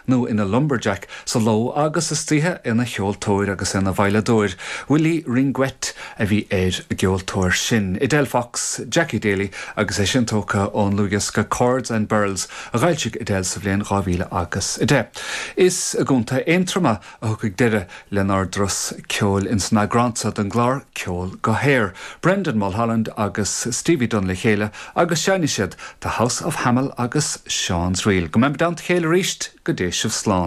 nó ina lumberjack sa ló agus istoíche ina cheoltóir agus ina veidhleadóir. Willie Ringuette a bhí ar an gceoltóir sin. Edel Fox, Jackie Daly agus é sin tógtha ón ndlúthdhiosca Chords and Birls a dh'fhoilsigh Edel sa bhliain 2010. Is i gContae Aontroma a thiocfaidh deireadh lenár dturas ceoil ins an eagrán seo den gclár Ceol go hAer. Brendan Mulholland agus Stevie Dunne le chéile agus seinnfidh siad The House of Hamel agus Sean's Reel. Go mbeimid i dteannta a chéile arís, go dté sibh slán.